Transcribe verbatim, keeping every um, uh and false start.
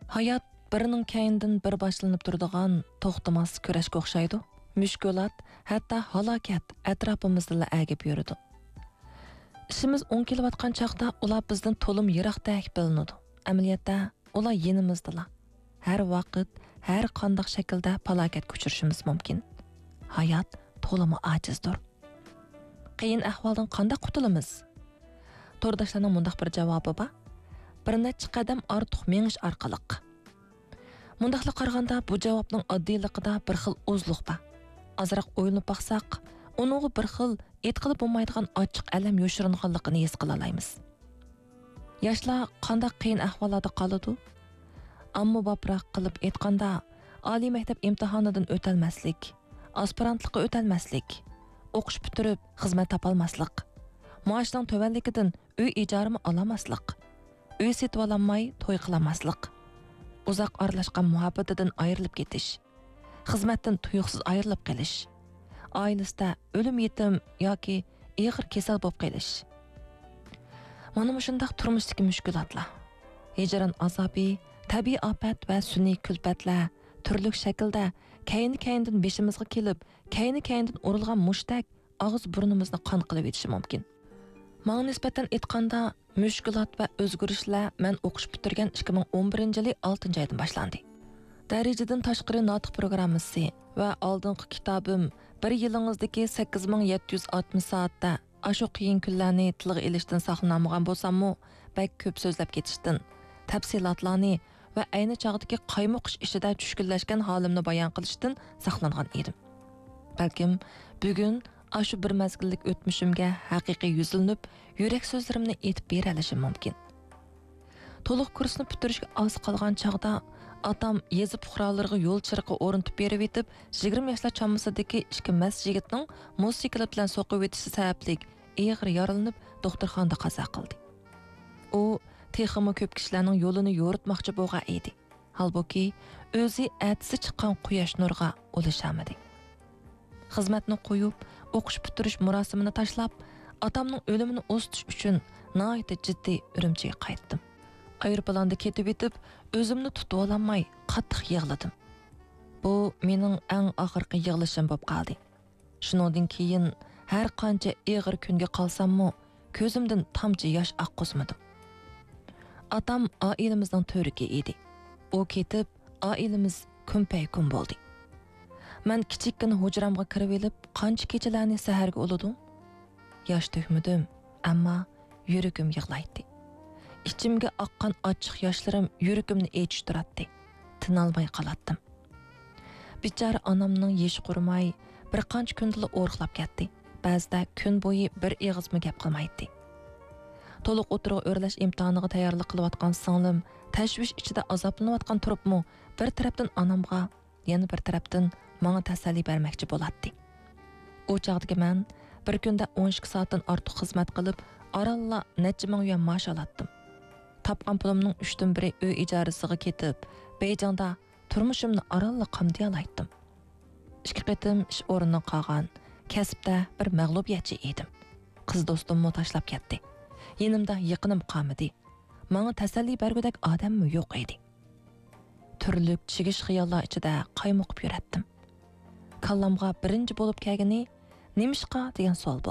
ھايات بىرىنىڭ كەينىدىن بىر باشلىنىپ تۇرىدىغان توختىماس كۈرەشكە ئوخشايدۇ. مۈشكۈلات، ھەتتا ھالاكەت ئەتراپىمىزدىلا ئەگىپ يۈرىدۇ. ئىشىمىز ئوڭ كېلىۋاتقان چاغدا ئۇلار بىزدىن تولىمۇ يىراقتەك بىلىنىدۇ. ئەمەلىيەتتە ئۇلار يېنىمىزدىلا. ھەر ۋاقىت، ھەر قانداق شەكىلدە پالاكەتكە ئۇچرىشىمىز مۇمكىن. ھايات تولىمۇ ئاجىزدۇر. قىيىن ئەھۋالدىن قانداق قۇتۇلىمىز؟ تورداشلارنىڭ مۇنداق بىر جاۋابى بار: بىر نەچچە قەدەم ئارتۇق مېڭىش ئارقىلىق. مۇنداقلا قارىغاندا، بۇ جاۋابنىڭ ئاددىيلىقىدا بىر خىل ئۇزلۇق بار. ئازراق ئويلىنىپ باقساق، ئۇنىڭغا بىر خىل ئېيتقىلى بولمايدىغان ئاچچىق ئەلەم يوشۇرۇنغانلىقىنى ھېس قىلالايمىز. ياشلار قانداق قىيىن ئەھۋاللاردا قالىدۇ؟ ئاممىبابراق قىلىپ ئېيتقاندا، ئالىي مەكتەپ ئىمتىھانىدىن ئۆتەلمەسلىك، ئاسپىرانتلىققا ئۆتەلمەسلىك، ئوقۇش پۈتتۈرۈپ خىزمەت تاپالماسلىق، مائاشنىڭ تۆۋەنلىكىدىن ئۆي ئىجارىمۇ ئالالماسلىق، ئۆي سېتىۋالالماي توي قىلالماسلىق، ئۇزاق ئارىلاشقان مۇھەببىتىدىن ئايرىلىپ كېتىش، خىزمەتتىن تۇيۇقسىز ئايرىلىپ قېلىش، ئائىلىسىدە ئۆلۈم يېتىم ياكى ئېغىر كېسەل بولۇپ قېلىش. مانا مۇشۇنداق تۇرمۇشتىكى مۈشكۈلاتلار، ھىجران ئازابى، تەبىئىي ئاپەت ۋە سۈنئىي كۈلپەتلەر تۈرلۈك شەكىلدە كەينى-كەينىدىن بېشىمىزغا كېلىپ، كەينى-كەينىدىن ئۇرۇلغان مۇشتەك ئاغزى بۇرنىمىزنى قان قىلىۋېتىشى مۇمكىن. ماڭا نىسبەتەن ئېيتقاندا، مۈشكۈلات ۋە ئۆزگىرىشلەر مەن ئوقۇش پۈتتۈرگەن ئىككى مىڭ ئون بىرىنچى يىلى ئالتىنچى ئايدىن باشلاندى. دەرىجىدىن تاشقىرى ناتىق پروگراممىسى ۋە ئالدىنقى كىتابىم بىر يىلىڭىزدىكى سەككىز مىڭ يەتتە يۈز ئاتمىش سائەتتە ئاشۇ قىيىن كۈنلەرنى تىلغا ئېلىشتىن ساقلىنالمىغان بولساممۇ، بەك كۆپ سۆزلەپ كېتىشتىن، تەپسىلاتلارنى ۋە ئەينى چاغدىكى قايمۇقۇش ئىچىدە چۈشكۈنلەشكەن ھالىمنى بايان قىلىشتىن ساقلانغان ئىدىم. بەلكىم بۈگۈن ئاشۇ بىر مەزگىللىك ئۆتمۈشۈمگە ھەقىقىي يۈزلىنىپ، يۈرەك سۆزلىرىمنى ئېيتىپ بېرەلىشىم مۇمكىن. تولۇق كۇرسنى پۈتتۈرۈشكە ئاز قالغان چاغدا ئاتام يېزا پۇقرالىرىغا يول چىرىقى ئورنىتىپ بېرىۋېتىپ، يىگىرمە ياشلار چامىسىدىكى ئىككى مەست يىگىتنىڭ موتوسىكلىت بىلەن سوقۇۋېتىشى سەۋەبلىك ئېغىر يارىلىنىپ، دوختۇرخانىدا قازا قىلدى. ئۇ تېخىمۇ كۆپ كىشىلەرنىڭ يولىنى يورۇتماقچى بولغان ئىدى. ھالبۇكى، ئۆزى ئەتىسى چىققان قۇياش نۇرىغا ئۇلىشالمىدى. خىزمەتنى قويۇپ، ئوقۇش پۈتتۈرۈش مۇراسىمىنى تاشلاپ، ئاتامنىڭ ئۆلۈمىنى ئۇزىتىش ئۈچۈن ناھايىتى جىددىي ئۈرۈمچىگە قايتتىم. ئايروپىلاندا كېتىۋېتىپ، ئۆزۈمنى تۇتۇۋالالماي قاتتىق يىغلىدىم. بۇ مېنىڭ ئەڭ ئاخىرقى يىغلىشىم بولۇپ قالدى. شۇنىڭدىن كېيىن ھەر قانچە ئېغىر كۈنگە قالساممۇ، كۆزۈمدىن تامچە ياش ئاققۇزمىدىم. ئاتام ئائىلىمىزنىڭ تۈۋرۈكى ئىدى. ئۇ كېتىپ، ئائىلىمىز كۈمپەيكۈم بولدى. مەن كىچىككىنە ھۇجرامغا كىرىۋېلىپ، قانچە كېچىلەرنى سەھەرگە ئۇلىدىم. ياش تۆكمىدىم، ئەمما يۈرىكىم يىغلايتتى. ئىچىمگە ئاققان ئاچچىق ياشلىرىم يۈرىكىمنى ئېچىشتۇراتتى. تىنالماي قالاتتىم. بىچارە ئانامنىڭ يېشى قۇرۇماي، بىر قانچە كۈندىلا ئورۇقلاپ كەتتى. بەزىدە كۈن بويى بىر ئېغىزمۇ گەپ قىلمايتتى. تولۇق ئوتتۇرىغا ئۆرلەش ئىمتىھانىغا تەييارلىق قىلىۋاتقان سىڭلىم تەشۋىش ئىچىدە ئازابلىنىۋاتقان تۇرۇپمۇ، بىر تەرەپتىن ئانامغا، يەنە بىر تەرەپتىن ماڭا تەسەللى بەرمەكچى بولاتتى. ئۇ چاغدىكى مەن بىر كۈندە ئون ئىككى سائەتتىن ئارتۇق خىزمەت قىلىپ، ئارانلا نەچچە مىڭ يۈەن مائاش ئالاتتىم. تاپقان پۇلۇمنىڭ ئۈچتىن بىرى ئۆي ئىجارىسىغا كېتىپ، بېيجىڭدا تۇرمۇشۇمنى ئارانلا قامدىيالايتتىم. ئىككى قېتىم ئىش ئورنىدىن قالغان، كەسىپتە بىر مەغلۇبىيەتچى ئىدىم. قىز دوستۇممۇ تاشلاپ كەتتى. يېنىمدا يېقىنىم قالمىدى. ماڭا تەسەللى بەرگۈدەك ئادەممۇ يوق ئىدى. تۈرلۈك چىگىش خىياللار ئىچىدە قايمۇقۇپ يۈرەتتىم. كاللامغا بىرىنچى بولۇپ كەلگىنى «نېمىشقا؟» دېگەن سوئال بولدى.